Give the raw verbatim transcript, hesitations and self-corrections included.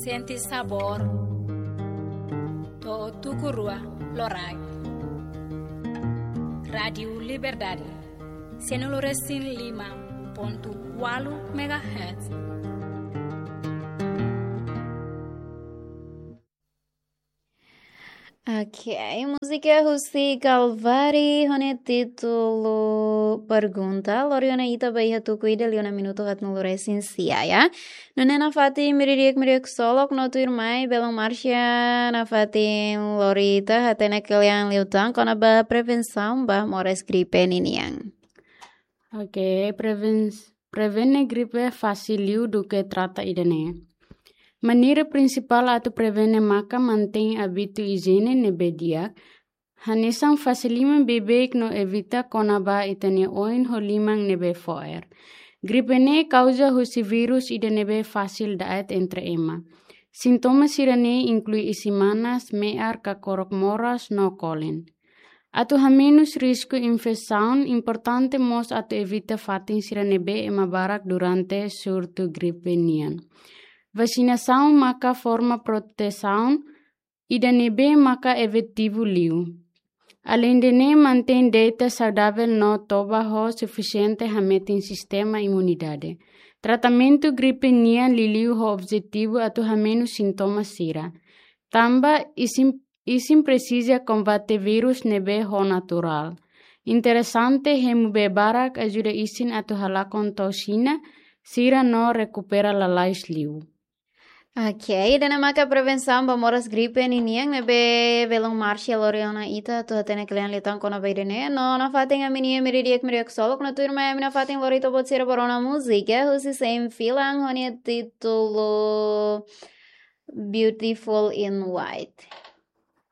Sente sabór. To'o tuku rua loraik. Rádiu Liberdade. Sianulu resin lima pontu ualu megahertz. Ok, múzika husi Kalvari ho nia títulu Pergunta. Lori ona ita ba iha tuku ida liu ona minutu haatnulu resin sia, ya. Nune'e nafatin meiudia di'ak, meiudia ksolok no tuirmai belun Marcia nafatin lori ita hatene kle'an liután kona-ba prevensaun ba moras gripe ninian. Ok, preven-, prevene gripe fasil liu duké trata ida-ne'e. Maneira prinsipál atu prevene maka mantein hábitu ijiene ne'ebé di'ak, hanesan fase liman beibeik no evita kona-ba ita-nia oin ho liman ne'ebé fo'er. Gripe ne'e kauza husi vírus ida ne'ebé fasil da'et entre ema. Sintoma sira-ne'e inklui isin manas, me'ar, kakorok moras no kolen. Atu hamenus risku infesaun, importante mós atu evita fatin sira ne'ebé ema barak durante surtu gripe nian. Vasinasaun maka forma protesaun ida ne'ebé maka efetivu liu. Aleinde ne'e, mantein deita saudavel no toba ho sufisiente hametin sistema imunidade. Tratamentu gripe nian liuliu ho objetivu atu hamenus sintoma sira. Tanba isin, isin presiza kombate vírus ne'ebé ho naturál. Interesante, hemu bee barak ajuda isin atu halakon toksina sira no rekupera lalais liu. Ok, ida-ne'e maka prevensaun ba moras gripe ninian ne'ebé belun Marcia lori ona ita atu hatene kle'an liután kona-ba ida-ne'e. No nafatin ami-nia meiudia di'ak, meiudia ksolok no tuirmai ami nafatin lori ita-boot sira ba rona múzika husi Sem Filang ho nia títulu Beautiful in White.